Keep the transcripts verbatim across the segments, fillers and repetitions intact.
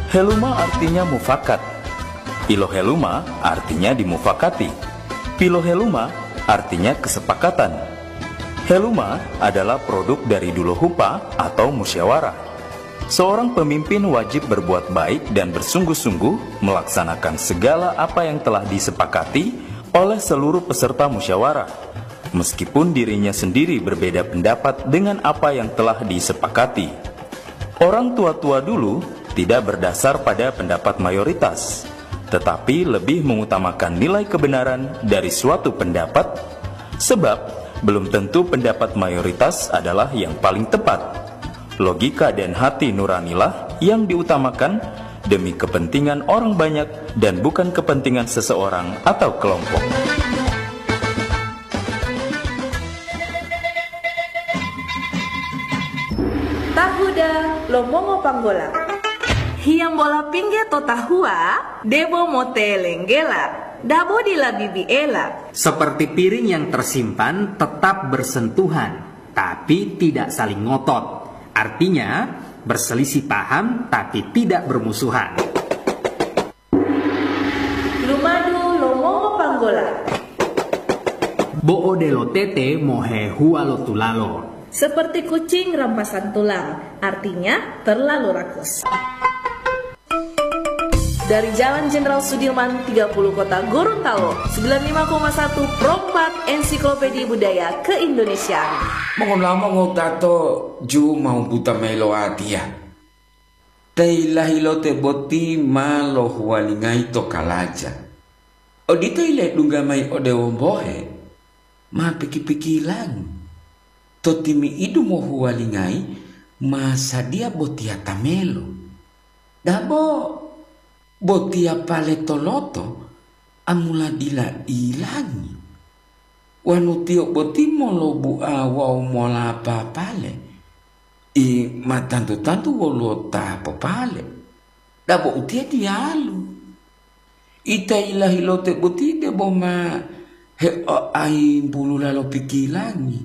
Heluma artinya mufakat. Piloheluma artinya dimufakati. Piloheluma artinya kesepakatan. Heluma adalah produk dari dulohupa atau musyawarah. Seorang pemimpin wajib berbuat baik dan bersungguh-sungguh melaksanakan segala apa yang telah disepakati oleh seluruh peserta musyawarah, meskipun dirinya sendiri berbeda pendapat dengan apa yang telah disepakati. Orang tua-tua dulu tidak berdasar pada pendapat mayoritas, tetapi lebih mengutamakan nilai kebenaran dari suatu pendapat, sebab belum tentu pendapat mayoritas adalah yang paling tepat. Logika dan hati nuranilah yang diutamakan demi kepentingan orang banyak dan bukan kepentingan seseorang atau kelompok. Tahuda lo mongo panggola. Hiyambola pingge to tahuwa, debo motelenggela, dabo dila bibiela. Seperti piring yang tersimpan tetap bersentuhan, tapi tidak saling ngotot. Artinya, berselisih paham tapi tidak bermusuhan. Lumadu lo mongo panggola. Bo odelo tete mohehuwa lo tulalo. Seperti kucing rampasan tulang, artinya terlalu rakus. Dari Jalan Jenderal Sudirman tiga puluh Kota Gorontalo, sembilan lima koma satu Pro empat Ensiklopedia Budaya Keindonesiaan. Mongonamo ngotato ju mau buta mayi lo watiya. Te ilahilote boti ma lohuwalingayi to kalaja. Odito yiledungga mayi ode wombohe, ma piki-pikilangi. To timi'idu mohuwalingayi ma sadiya botiya tamelo. Dabo botiya pale toloto, amula dila ilangi. Wanu tiyo boti molobua wawu molapa pale, i ma tantu-tantu woluwo ta popale. Dabo utiye diyalu. Ita ilahilote boti debo ma heoayimbulula lo pikilangi,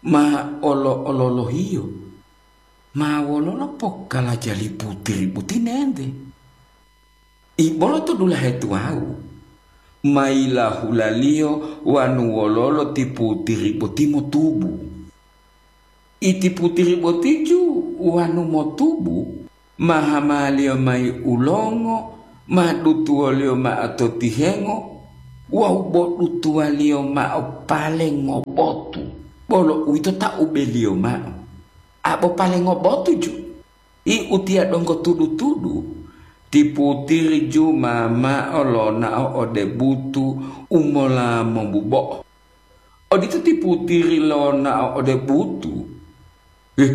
ma olo-ololohiyo, ma wololo pokalajali putiri boti nente. Ibolo to dulahe tuwawu, ma yilahulaliyo wanu wololo ti putiri boti motubu. Iti putiri botiju wanu motubu, ma hamaliyo mayi ulongo, ma dutuwoliyo mao to tihengo, wawu bo dutuwaliyo mao pale ngobotu, bolo uwito ta ubeliyo mao. Abo pale ngobotu ju, i utiya donggo tudu-tudu, ti putiri ju ma mao lonao ode butu u mola mobubo'o. Odito ti putiri lonao ode butu. Ih,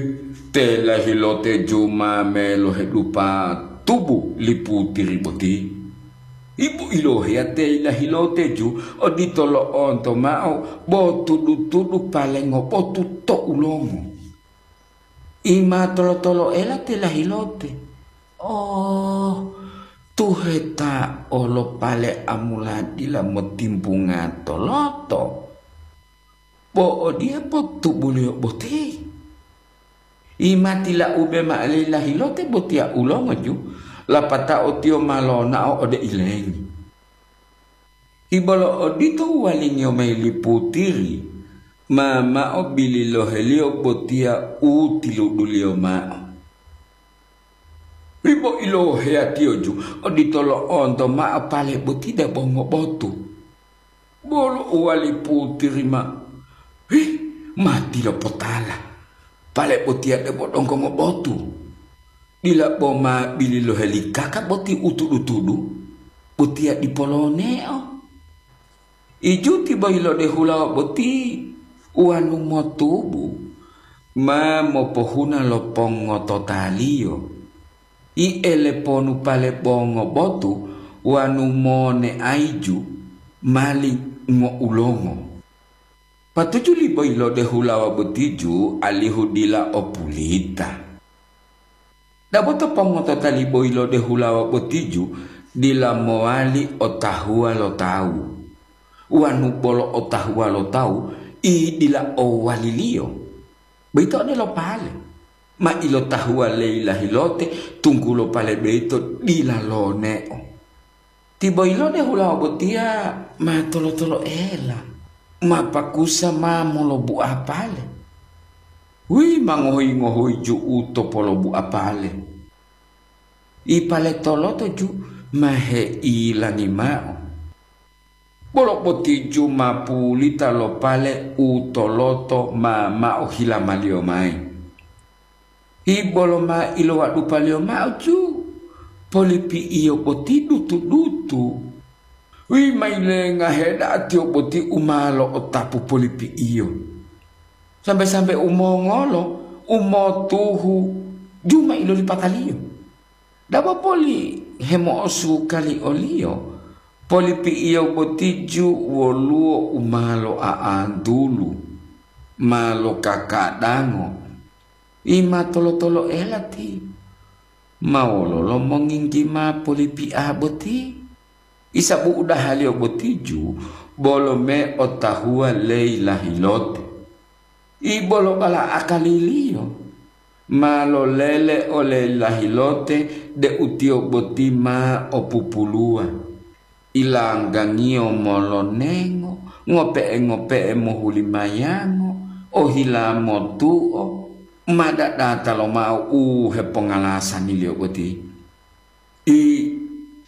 te lahilote ju ma melohedupa tubu li putiri boti. Ibu iloheya te lahilote ju odito lo'onto mao bo tudu-tudu pale ngobotu to ulongo. I ma tolo-toloela te lahilote. Oh, tuheta olo pale amula dila motimbunga toloto. Bo odiye potubuliyo boti. I ma tilaube mao li lahilote botiya ulongo ju, lapatao tiyo ma lonao ode ilengi. Ibolo odito uwalingiyo mayi li putiri, ma mao bililoheliyo botiya u tiluduliyo mao. Ribo iloheyatiyo ju odito lo'onto mao pale boti debo ngobotu. Bolo uwali putiri ma, "Hih, ma tilopotala, pale botiya debo donggo ngobotu. Dila bo ma bililoheli kaka boti u tudu-tudu, botiya dipo loneo." Ijuti boyilode hulawa boti uwanu motubu, ma mopohuna lo pongototaliyo. I eleponu pale bongo botu wanu moneaiju mali ngoulongo. Patuju li boyilode hulawa botiju alihu dila o pulita. Dabo to pongotota li boyilode hulawa botiju dila mowali otahuwa lo tawu, wanu bolo otahuwa lo tawu, i dila owaliliyo. Boyito odelo pale. Ma ilotahuwa leyi lahilote, tunggulo pale boyito dila loneo. Tiboyilode hulawa botiya ma tolo-toloela, ma pakusa ma molobu'a pale. Wi ma ngohoyi-ngohoyi ju'u to polobu'a pale. Ipale toloto ju ma heilangi ma'o. Bolo boti ju ma pulita lo pale u toloto ma ma'o hilamaliyo mayi. Ibolo ma ilowadupaliyo ma'o ju, polipi'iyo boti dutu-dutu. Wi ma yilengahe da'a tiyo boti u ma lo'otapu polipi'iyo. Sambe-sambe u mongolo, u motuhu, ju ma ilolipataliyo. Dabo poli hemo'osukali oliyo, polipi'iyo boti ju woluwo u ma lo'a'antulu, ma lokakadango, i ma tolo-toloela ti. Ma wololo monginggi ma polipi'a boti? Isa bu'udahaliyo boti ju bolo me otahuwa leyi lahilote. Ibolo bala akaliliyo ma lolele ole lahilote deu tiyo boti ma o pupuluwa. Ilanggangiyo molonengo, ngope'e-ngope'e mohulimayango, ohila motuo, ma dadata lomao u hepongalasangiliyo boti. I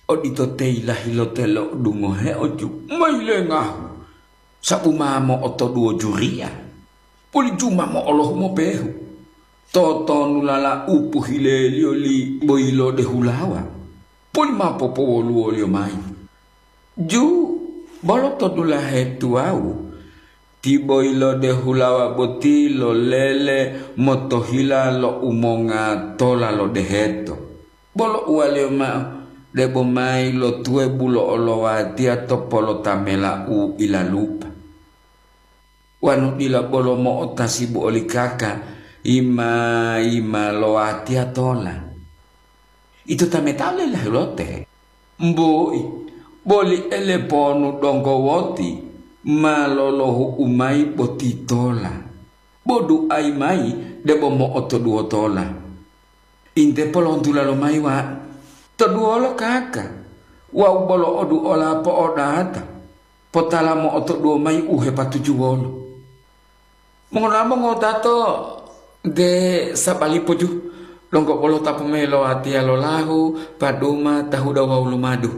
odito teyi lahilote lo'odungoheo ju ma yilengahu, sabu ma mo'otoduwo juriya, poli ju ma mo'olohu mopehu. Totonulala u pohileliyo li boyilode hulawa, poli ma popowoluwoliyo mayi. Ju bolo to dulahe tuwawu, tiboyilode hulawa boti lolele motohila lo umonga tola lo deheto. Bolo uwaliyo mao, debo mayi lo tuwe bulo olowatiya to polotamela u ilalupa. Wonu dila bolo mo'otasibu oli kaka, yima-yima lo watiya tola. Ito tametao le lahilote, mboi, boli ele ponu donggo woti ma lolohu'u mayi boti tola. Bo duayi mayi debo mo'otoduwo tola. Inte polontula lomayi wa, toduwolo kaka, wawu bolo oduola po'odata, potala mo'otoduwo mayi u hepatujuwolo. Mongonamo ngotato de sabalipo ju, donggo bolo tapu mayi lo watiya lo lahu, paduma, tahuda wawu lumadu.